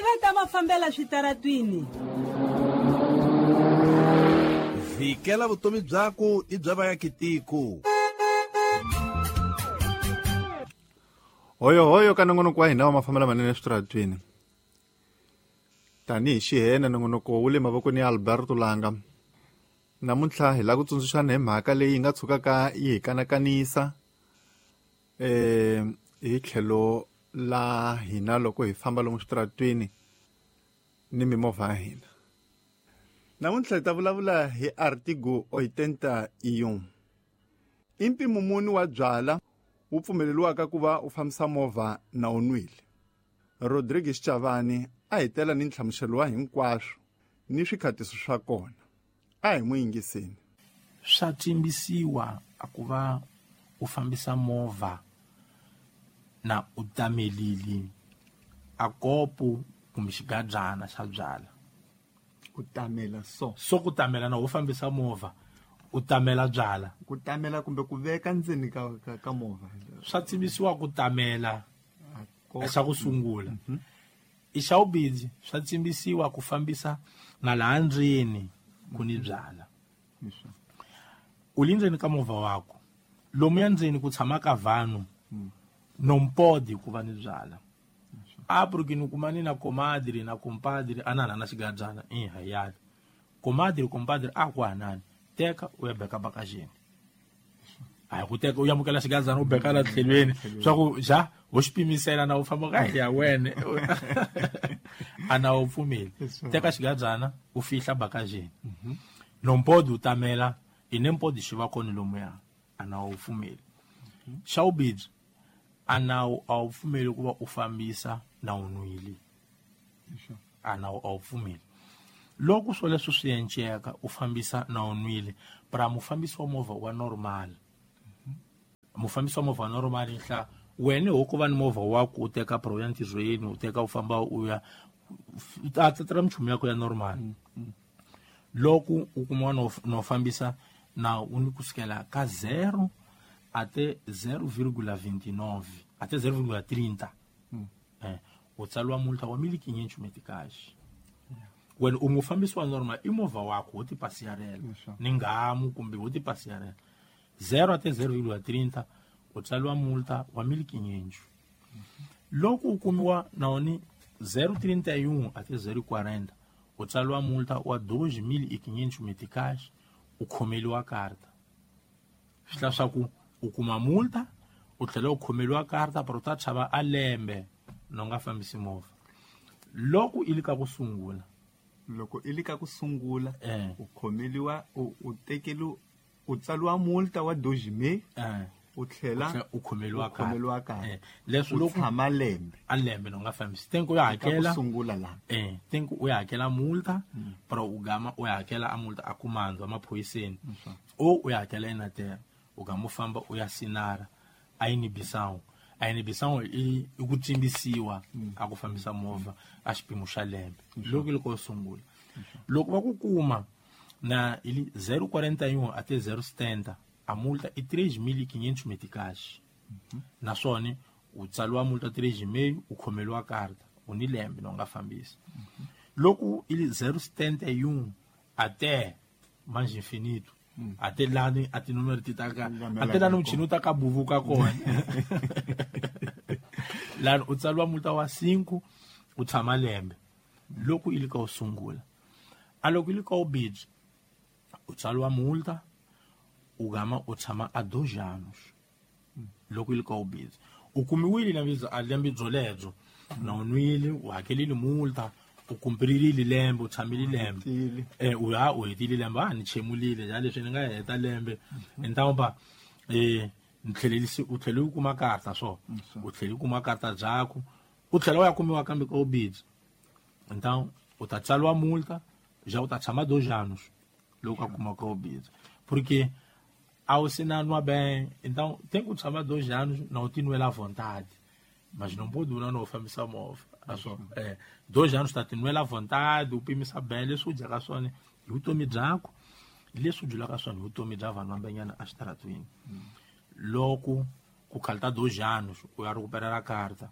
Tiva ta mafambela switaratwini. Vhikela vutomi byaku i bya vayakitiko. Hoyo hoyo ka nongonoko wa hina wa mafambelo manene eswitaratwini. Tanihi xihena nongonoko wu le mavokweni ya Alberto Langa. Namuntlha hi lava ku tsundzuxana hi mhaka leyi nga tshukaka yi hi kanakanisa hi tlhelo la hina loko hi famba lomu switaratwini ni mimovha ya hina. Namuntlha hi ta vulavula hi Artigo 81. I mpimo muni wa byala wu pfumeleriwaka ku va u fambisa movha na u nwile. Rodriguez Chavani a hi tela ni nhlamuselo wa hinkwaswo ni swikhatiso swa kona. A hi n'wi yingiseni. Swa tsimbisiwa a ku va u fambisa movha na u tamelile a kopo kumbe xigabyana xa byala. Ku tamela so. So ku tamela na u fambisa movha u tamela byala. Ku tamela kumbe ku veka ndzeni ka movha. Swa tsimbisiwa ku tamela xa ku sungula. I xa vubindzi swa tsimbisiwa ku fambisa na laha ndzeni ku ni byala. U le ndzeni ka movha wako. Lomuya ndzeni ku tshama ka vanhu nompodi ku va ni byala. A porque ni kuma ni na comadre na compadre anana na xigabyana i hayali. Comadre compadre a ku hanani teka u ya beka bakajeni. A ku teka u yamukela xigabyana u beka la tlhelweni swa ku ja ho xi pimisela na u famba ka ya wena. Ana u pfumeli. Teka xigabyana u fihla bakajeni. Nompodi u tamela inempodi xi va kona lomuya ana u pfumeli. Xa vubindzi ana a wu pfumeli ku va u fambisa na u nwile. Ana a wu pfumeli. Loko swo leswi swi enceka u fambisa na u nwile, pra mufambisi wa movha wa normal. Mufambisi wa movha wa normal nhla wena ho ku va ni movha wa ku u teka pro ya ntirhweni u teka u famba u ya ta tatra minchumu ya ku ya normal. Loko u kuma no fambisa na u ni kusukela ka 0 até 0,29 até 0,30. U tsaliwa multa wa 1.500 meticais. Wena u mufambisi wa normal i movha wakho wo tipasiyarela ni ngamu kumbe wo tipasiyarela 0 até 0,30 u tsaliwa multa wa 1.500. Loko u kumiwa na woni 0,31 até 0,40 u tsaliwa multa wa 2.500 meticais u khomeliwa karta. Swi hla swa ku u kuma multa u tlhela u khomeliwa karta pero u ta tshama a lembe no nga fambisi movha. Loko i le ka ku sungula, loko i le ka ku sungula u khomeliwa u tekeliwa u tsaliwa multa wa 2.000 u tlhela u khomeliwa karta. Leswi loko tshama lembe a lembe no nga fambisi tenku ya hakela ku sungula la tenku u ya hakela multa pero u gama u ya hakela a multa a kumandza maphoyiseni o u ya hakela eNatal u gama u famba u ya Sinara a inibisawu i ku tsimbisiwa a ku fambisa movha a xipimo xa lembe loko loko u sungula. Loko va ku kuma na ili 0,41 até 0,70 a multa i 3.500 meticais. Naswona u tsaliwa multa 3.5 u khomeliwa karta u ni lembe no nga fambisi. Loko ili 0,71 até mais infinito até lani a tinúmero ti ta ka até lani muchini u ta ka buvuka kona lani u tsaliwa multa wa 5 u tshama lembe loko i le ka u sungula. A loko i le ka u bidzi u tsaliwa multa u gama u tshama a 2 anos loko i le ka u bidzi u kumiwile a lembe byolebyo na u nwile u hakelile multa u kumpirile lembe u tshamile lembe u ya u hetile lembe a ni chemulile ya leswi ni nga heta lembe ntamba ni tlhelelisi u tlhele u kuma karta so u tlhele u kuma karta byakho u tlhela u ya kumiwa kambe ka ubidzi então u ta tsaliwa multa já u ta tshama 2 anos loko a kuma ka ubidzi porque a wu se na nwa bem então tem ku tshama 2 anos na u tinwela à vontade mas não pode durar no fambisa movha aso 2 anos ta tinwela à vontade u pimisa bem leswi u dyaka swona hi vutomi byakho leswi u dyulaka swona hi vutomi bya vanhu vambenyana exitaratweni. Loko ku khalta 2 anos u ya recuperar karta.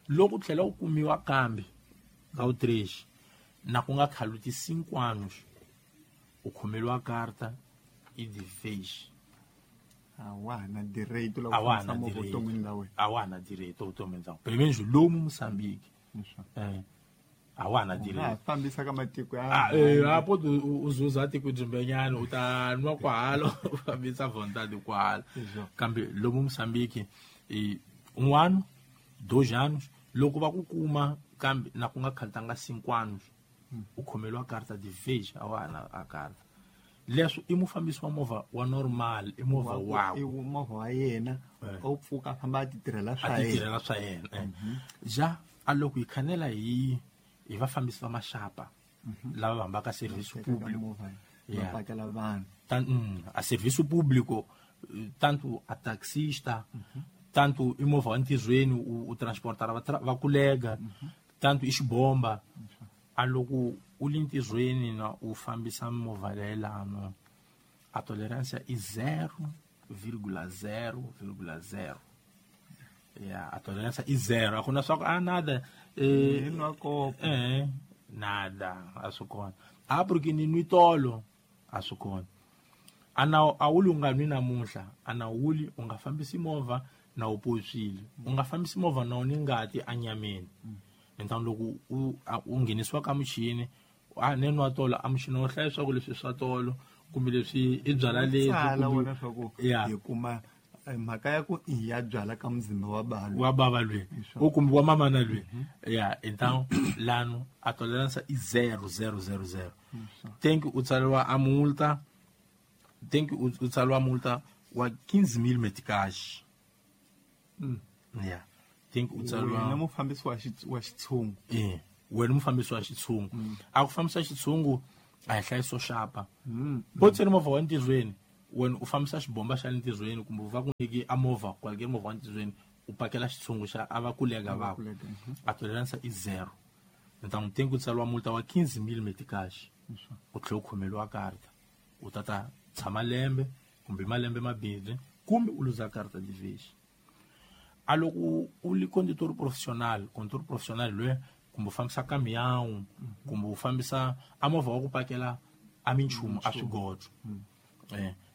Loko u tlhela u kumiwa kambe ka o 3 na ku nga khaluti 5 anos u khomeliwa karta e de vez a wa na direito la ku fambisa movha vuton'wini la wena. A wa na direito vuton'wini bya pelo menos lomu Moçambique a wa na direito fambisa ka matiko ya a pode u zuza tiko dzimbenyana u ta nwa kwalo u fambisa vontade kwalo kambe lomu Moçambique 1 ano 2 anos loko va ku kuma kambe na ku nga khalutanga 5 anos u khomeliwa karta de vez a wa na a karta leswo i mufambisi wa movha wa normal i movha wakwe i movha wa yena o pfuka a famba a ti tirhela swa yena a ti tirhela swa yena ja a loko hi khanela hi vafambisi va maxapa lava va hambaka serviço público va pakela vanhu a serviço público tanto a taxista tanto i movha wa ntirhweni u transportara va kulega tanto i xibomba a loko u le ntirhweni na u fambisa movha leyilano a tolerância i 0,0,0 ya a tolerância i 0 a ku na swa ku a nada nada a swi kona a porque ni nwi tolo a swi kona a na a wuli u nga nwi namuntlha a na wuli u nga fambisi movha na u potswile u nga fambisi movha na u ni ngati anyameni então loko u nghenisiwa ka muchini a ne nwa tolo a muchini wo hlaya swa ku leswi swa tolo kumbe leswi i byala lebyi hi kuma mhaka ya ku i ya byala ka muzimba wa balo wa bava lwe o kumbe wa mamana lwe ya então lano a tolerância i 0,000 tem que u tsariwa a multa tem que u tsariwa multa wa 15,000 meticais ya tem que u tsariwa wena mufambisi wa xitshungu wena mufambisi wa xitshungu a ku fambisa xitshungu a hi hlayiso xapa po tseni movha wa ntirhweni wena u fambisa xibomba xa le ntirhweni kumbe va ku nyiki a movha kwalike movha wa ntirhweni u pakela xitshungu xa a va kulega vako a tolerância i 0 então tem que tsariwa multa wa 15,000 meticais u tlhela u khomeliwa karta u tata tshama lembe kumbe malembe mabirhi kumbe u luza karta de vez a loko u li condutor profissional loyi kumbe u fambisa caminhão kumbe u fambisa a movha wa ku pakela a minchumu a swigodzo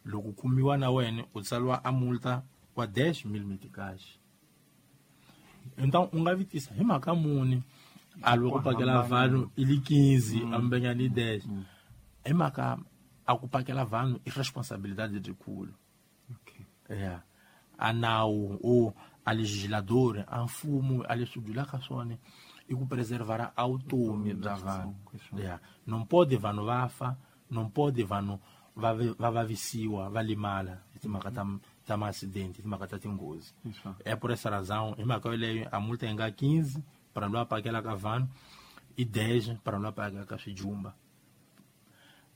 loko kumiwa na wena u tsariwa a multa wa 10,000 meticais então u nga vitisa hi mhaka muni a loko ku pakela vanhu i li 15 ambenyani 10 hi mhaka a ku pakela vanhu i responsabilidade lebyikulu ya a nawu o a legislador a mfumo a leswi dulaka swona i ku preservar a vutomi bya vanhu ya não pode vanhu va fa não pode vanhu va vavisiwa va limala hi timhaka ta ma-accident timhaka ta tinghozi é por essa razão hi mhaka yoleyo a multa yi nga 15 para loyi a pakelaka vanhu i 10 para loyi a pakelaka swijumba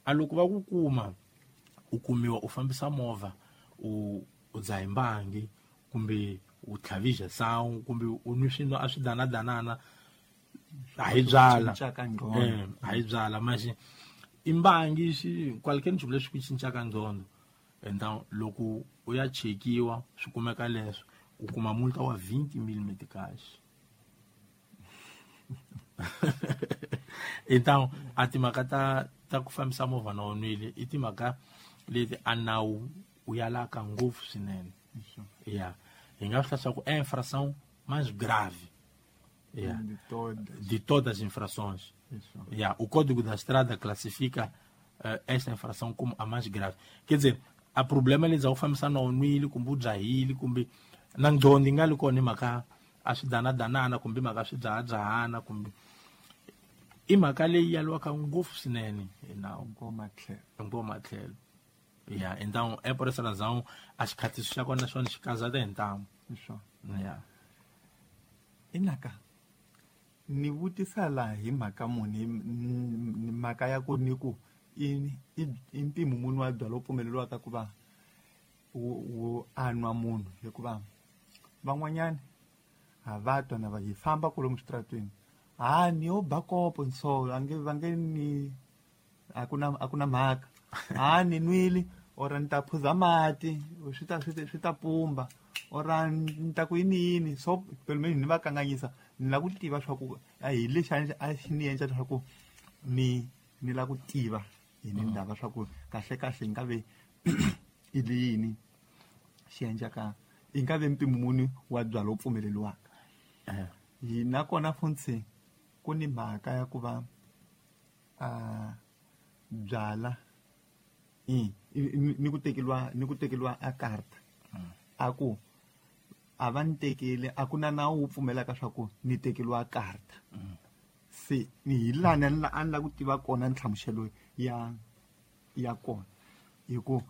a loko va ku kuma u kumiwa u fambisa movha u dzaha mbangi kumbe u tlhavisa sawu kumbe u nwi swinwa a swi danadanana a hi byala a hi byala manje i mbangi xi qualquer nchumu lexi ku cincaka nqondo então loko u ya chekiwa swi kumeka leswo u kuma multa wa 20,000 meticais então a timhaka ta ku fambisa movha na u nwile i timhaka leti a nawu u yalaka ngopfu swinene ya hi nga swi hlaya ku é infração mais grave de todas as infrações. O Código da Estrada classifica esta infração como a mais grave. Quer dizer, a problema eles ao fambisa na nwile kumbe u dzahile kumbe na nqondo yi nga li kona hi mhaka a swi danadanana kumbe mhaka swi dzahadzahana kumbe i mhaka leyi yaliwaka ngopfu swinene hi nawu hinkwawo matlhelo ya então é por essa razão a xikhatisi xa kona xona xi kazata hi ntamu ya inaka ni vutisa laha hi mhaka muni mhaka ya ku ni ku i mpimo muni wa byalwa pfumeleriwaka ku va wu anwa munhu hikuva van'wanyana ha va twa na va hi famba kwalomu switaratweni ha ni yo ba kopo so a nge va nge ni a ku na mhaka ha ni nwile or ni ta phuza mati swi ta pumba or ni ta ku yini yini so pelo menos ni va kanganyisa Ni lava ku tiva swa ku a hi lexi a xi ni endla leswaku ni lava ku tiva hi ni ndaba swa ku kahle kahle nga ve i yini xi endlaka i nga ve mpimo muni wa byala wu pfumeleriwaka. Hi nakona funtsi ku ni mhaka ya ku va byala ni ku tekeriwa a karta a ku a va ni tekele a ku na nawu wu pfumelaka swa ku ni tekeriwa karta. Se ni hi lani a ni lava ku tiva kona nhlamuselo ya kona hi ku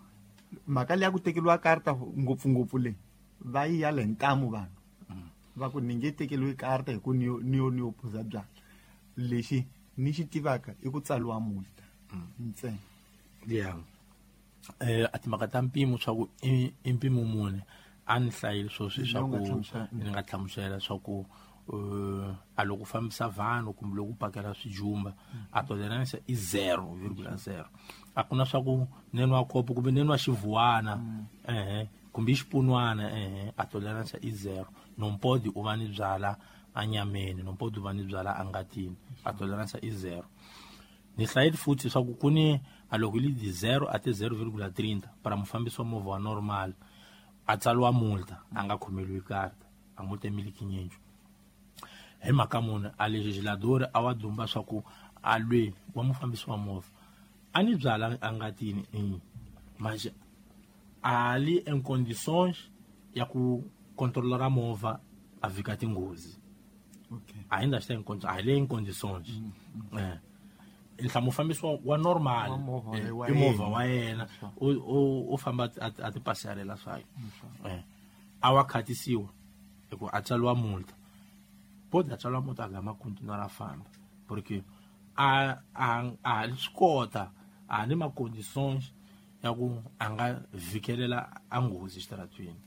mhaka leyi ya ku tekeriwa karta ngopfungopfu leyi va yi yala hi ntamu vanhu va ku ni nge tekeriwi karta hi ku ni yo phuza byala. Lexi ni xi tivaka i ku tsariwa multa ntsena. Yeah. A timhaka ta mpimo swa ku i mpimo muni a ni hlayile sweswi swa ku ni nga hlamusela swa ku a loko fambisa vanhu kumbe loko pakela swijumba a tolerance i 0.0. A ku na swa ku ni nwa kopo kumbe ni nwa xivuwana kumbe xipunwana a tolerance i 0. Non pode u va ni byala a nyameni, non pode u va ni byala a ngatini, a tolerance i 0. Ni hlayile futhi swa ku ku ni a loko li di 0 a ti 0.30 para mufambisi wa movha wa normal a tsariwa multa a nga khomeliwi karta a multa miliki nyinji. Hi mhaka muni a legislador a wa dumba swa ku a lwe wa mufambisi wa movha a ni byala a ngatini manje a li en condições ya ku controlar movha a vika tinghozi. Okay. Ainda está em condições, ali em condições. Ntlha mufambisi wa normal i movha wa yena u famba a ti pasarela swa a wa khatisiwa hi ku a tsariwa multa. Pode a tsariwa multa a gama continuar a famba porque a swi kota a ni ma condições ya ku a nga vikelela a nghozi xitaratweni.